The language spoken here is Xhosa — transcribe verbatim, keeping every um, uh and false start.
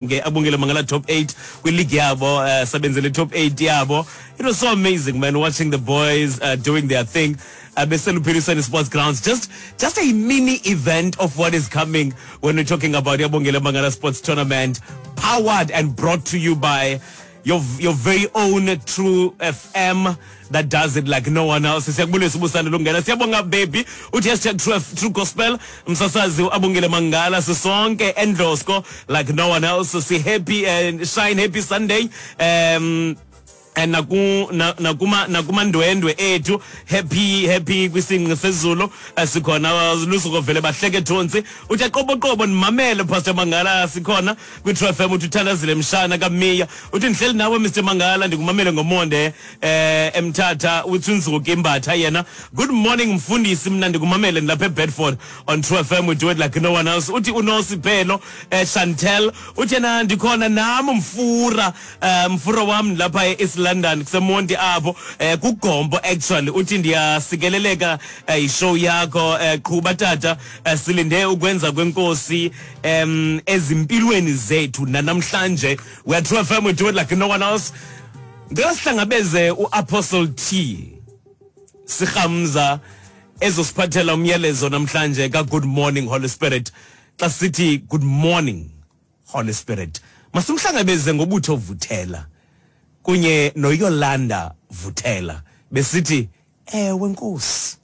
Ke Abongile Mangala top eight kwi-league yabo, uh, sebenzele top eight yabo. It was so amazing, man, watching the boys uh, doing their thing uh, beseluphilisweni Sports Grounds. Just just a mini event of what is coming when we're talking about Abongile Mangala Sports Tournament, powered and brought to you by your your very own True F M that does it like no one else. Siyakubulisa ubusana lungena. Siyabonga baby. Uthi hashtag True, True Gospel, msasazi Abongile Mangala, sisonke endlosko like no one else. Si happy and shine, happy Sunday. Um and naku na- nakuma nakumandwendwe ethu, happy happy kwisingqi sezulu. eh, sikhona lusuku vele bahleke thontsi. Uthi qoboqobo ndimamele Pastor Mangala, sikhona kwi-True F M. Uthi uthandazile mshana kaMiya. Uthi ndihleli nawe Mister Mangala, ndikumamele ngomonde eh eMthatha. Uthi unzuka imbatha yena. Good morning mfundisi, mna ndikumamele ndilapha eBedford on True F M, we do it like no one else. Uthi uNosipelo eh Chantel, uthi yena ndikhona nam mfura, eh mfura wam, lapha e-East London kuseMonti apho, eh kuGombo actually. Uthi ndiyasikeleleka eh, ishow yakho, eh, qhuba tata, eh, silinde ukwenza kwenkosi em ezimpilweni zethu namhlanje. We are True F M, we do it like no one else. Ngicela sihlangabeze uApostle T Sihamza ezosiphathela umyalezo namhlanje ka Good Morning Holy Spirit. Xa sithi good morning Holy Spirit, masimhlangabeze ngobutho Vuthela kunye noYolanda Vuthela besithi ewe Nkosi.